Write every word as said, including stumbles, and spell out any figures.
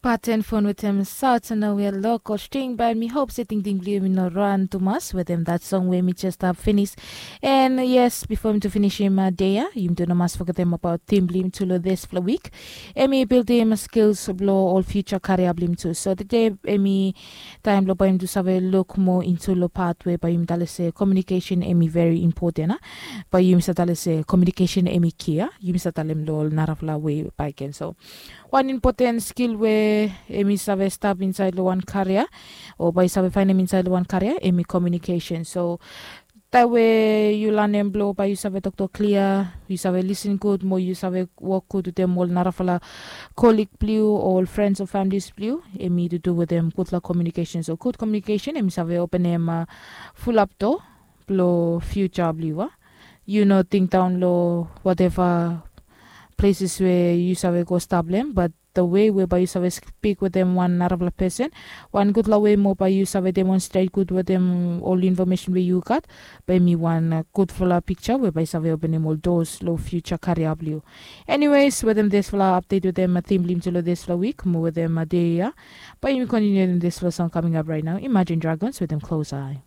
Paten fon wetem saut na we lokol string, bat mi hop se tingting blong yumi no ran tumas wetem dat song we mi jes stap finis. And yes, bifo mi tu finisim dei ya, yumi tu no mas fogetem abaot tim blong yumi tu long dispela wik. Em i bildim skils blong ol future karia blong yumi tu. So tede em i taim blong bai yumi tu save luk moa into long pat we bai yumi talem se komiunikesen em i veri impoten a. Bai yumi sa talem se komiunikesen em i kia, yumi sa talem long ol narafala we bai ken. So wan impoten skil we em i save stap insait long wan karia, o bai yu save fainem insait long wan karia, em i komiunikesen. So taim we yu lanem blong bai yu save toktok klia, yu save lisin gut mo yu save wok gut wetem ol narafala kolik blong yu o ol frens o familis blong yu, em i dudu wetem gutpela komiunikesen. So gut komiunikesen em i save openem fulap doa blong fiuja blong yu a. Yu no tingdaon long wateva pleses we yu save go stap long em, bat the way we bai yu save spik wetem wan narafala pesen, wan gutpela we moa bai yu save demonstret gut wetem ol infomesen we yu gat, bai em i wan gutpela piksa we bai save openem ol dos long fiuja karia blong yu. Eniwes, wetem dispela apdet wetem tim blong yumi tu long dispela wik mo wetem dei ya, bai yumi kontiniu wetem dispela song kaming ap rait nau, Imagine Dragons wetem Close Eye.